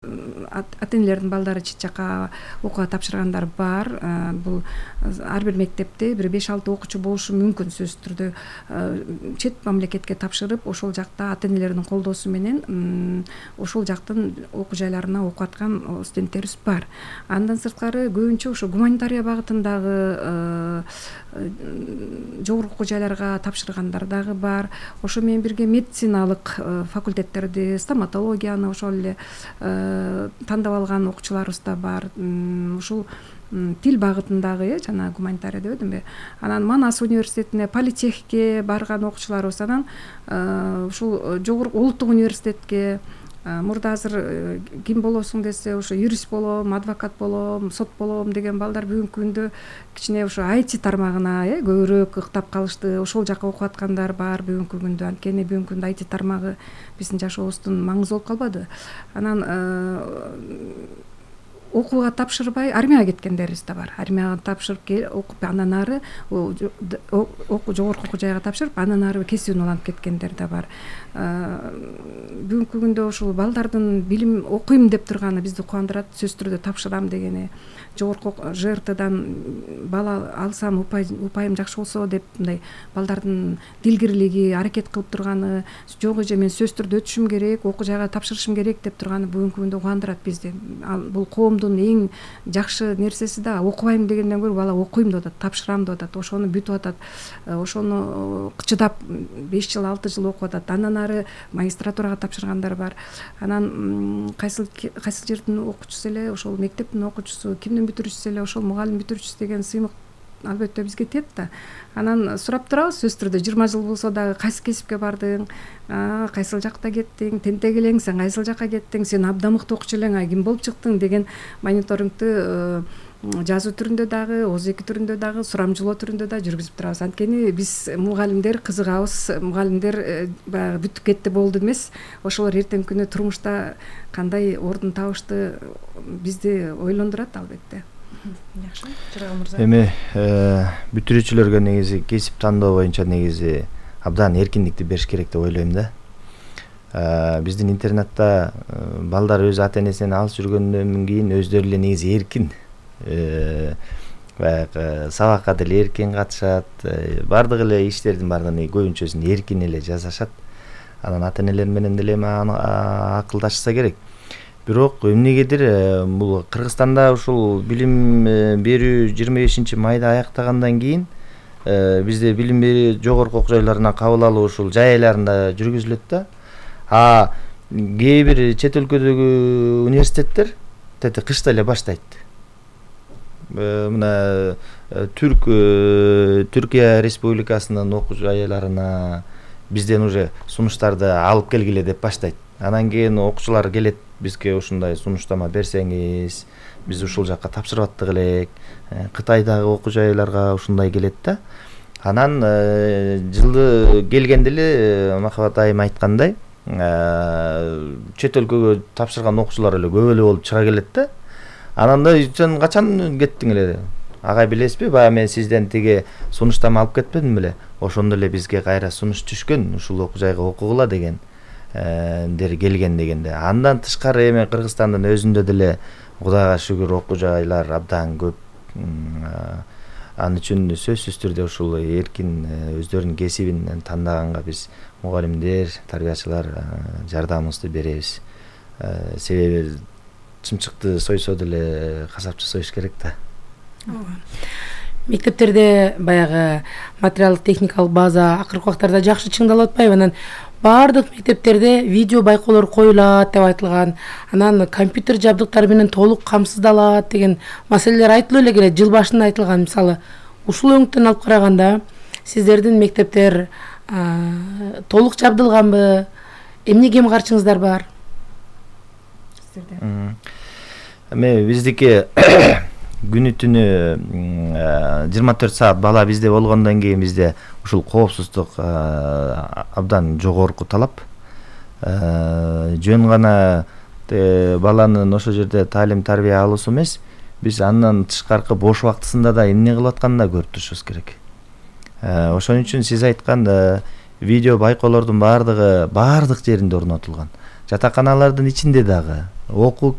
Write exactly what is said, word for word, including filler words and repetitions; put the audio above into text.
ата энелердин балдары чет жака окууга тапшыргандар бар. Бул ар бир мектепте бир беш алты окуучу болушу мүмкүн. Сөзсүз түрдө чет мамлекетке тапшырып, ошол жакта ата энелердин колдоосу менен ошол жактын окуу жайларына окуп аткан студенттерибиз бар. Андан сырткары көбүнчө ошо гуманитария багытындагы жогорку окуу жайларга тапшыргандар дагы бар. Ошо менен бирге медициналык факультеттерди, стоматологияны ошол эле тандап алган окуучуларыбыз да бар. Ушул тил багытындагы жана гуманитария дебедимби. Анан Манас университетине, политехке барган окуучуларыбыз, анан ушул жогорку улуттук университетке мурда азыр ким болосуң десе, ошо юрист болом, адвокат болом, сот болом деген балдар бүгүнкү күндө кичине ошо ай ти тармагына э көбүрөөк ыктап калышты. Ошол жака окуп аткандар бар бүгүнкү күндө. Анткени бүгүнкү күндө ай ти тармагы биздин жашообуздун маңызы болуп калбады. Анан окууга тапшырбай армияга кеткендерибиз да бар. Армияга тапшырып окуп, андан ары жогорку окуу жайга тапшырып, андан ары кесибин улантып кеткендер да бар. Бүгүнкү күндө ушул балдардын билим окуйм деп турганы бизди кубандырат. Сөзсүз түрдө тапшырам дегени, жогорку жэ эр тэдан бала алсам упайым жакшы болсо деп мындай балдардын дилгирлиги, аракет кылып турганы, жок эже мен сөзсүз түрдө өтүшүм керек, окуу жайга тапшырышым керек деп турганы бүгүнкү күндө кубандырат бизди. Бул коомдун эң жакшы нерсеси да, окубайм дегенден көрө бала окуйм деп атат, тапшырам деп атат, ошону бүтүп атат, ошону чыдап беш жыл алты жыл окуп атат. Андан ары магистратурага тапшыргандар бар. Анан кайсыл кайсыл жердин окуучусу эле, ошол мектептин окуучусу, кимдин бүтүрүүчүсү эле ошол мугалим бүтүрүүчүсү деген сыймык албетте бизге тиет да. Анан сурап турабыз, сөзсүз түрдө жыйырма жыл болсо дагы кайсы кесипке бардың, кайсыл жакта кеттиң, тентек элең, сен кайсыл жака кеттиң, сен абдан мыкты окуучу элең, а ким болуп чыктың деген мониторингти жазуу түрүндө дагы, оз эки түрүндө дагы, сурамжылоо түрүндө да жүргүзүп турабыз. Анткени биз мугалимдер кызыгабыз, мугалимдер баягы бүтүп кетти болду эмес. Ошолор эртеңки күнү турмушта кандай ордун табышты бизди ойлондурат албетте. Жакшы, Жыргал мырза. Эми бүтүрүүчүлөргө негизи кесип тандоо боюнча негизи абдан эркиндикти бериш керек деп ойлойм да. Биздин интернатта балдар өз ата энесинен алыс жүргөндөн кийин өздөрү эле негизи эркин, баягы сабакка деле эркин катышат, бардык эле иштердин баардыгын көбүнчөсүн эркин эле жасашат. Анан ата энелер менен деле акылдашса керек. Бирок эмнегедир бул Кыргызстанда ушул билим берүү жыйырма бешинчи майда аяктагандан кийин бизде билим берүү жогорку окуу жайларына кабыл алуу ушул жай айларында жүргүзүлөт да. А кээ бир чет өлкөдөгү университеттер тети кышта эле баштайт. Мына Түрк Түркия Республикасынын окуу жайларына бизден уже сунуштарды алып келгиле деп баштайт. Анан кийин окуучулар келет, бизге ушундай сунуштама берсеңиз, биз ушул жакка тапшырып аттык элек. Кытайдагы окуу жайларга ушундай келет да. Анан жылы келгенде эле Махабат айым айткандай, чет өлкөгө тапшырган окуучулар эле көп эле болуп чыга келет да. Анан да сен качан кеттиң эле? Агай билесизби, баягы мен сизден тиги сунуштама алып кетпедим беле? Ошондо эле бизге кайра сунуш түшкөн, ушул окуу жайга окугула деген дер келген дегенде. Андан тышкары эми Кыргызстандын өзүндө деле Кудайга шүгүр окуу жайлар абдан көп. Ал үчүн сөзсүз түрдө ушул эркин өздөрүнүн кесибин тандаганга биз мугалимдер, тарбиячылар жардамыбызды беребиз. Себеби чымчыкты сойсо деле касапчы союш керек да. Мектептерде баягы материалдык техникалык база акыркы убактарда жакшы чыңдалып атпайбы? Анан баардык мектептерде видео байкоолор коюлат деп айтылган. Анан компьютер жабдыктары менен толук камсыздалат деген маселелер айтылып эле келет. Жыл башында айтылган. Мисалы, ушул өңүттөн алып караганда сиздердин мектептер толук жабдылганбы? Эмне кем карчыңыздар бар? Эми биздики күнү түнү жыйырма төрт саат бала бизде болгондон кийин бизде ушул коопсуздук абдан жогорку талап. Жөн гана баланын ошол жерде таалим тарбия алуусу эмес, биз андан тышкаркы бош убактысында да эмне кылып атканын да көрүп турушубуз керек. Ошон үчүн сиз айткан видео байкоолордун баардыгы баардык жеринде орнотулган. жатаканалардын ичинде дагы окуу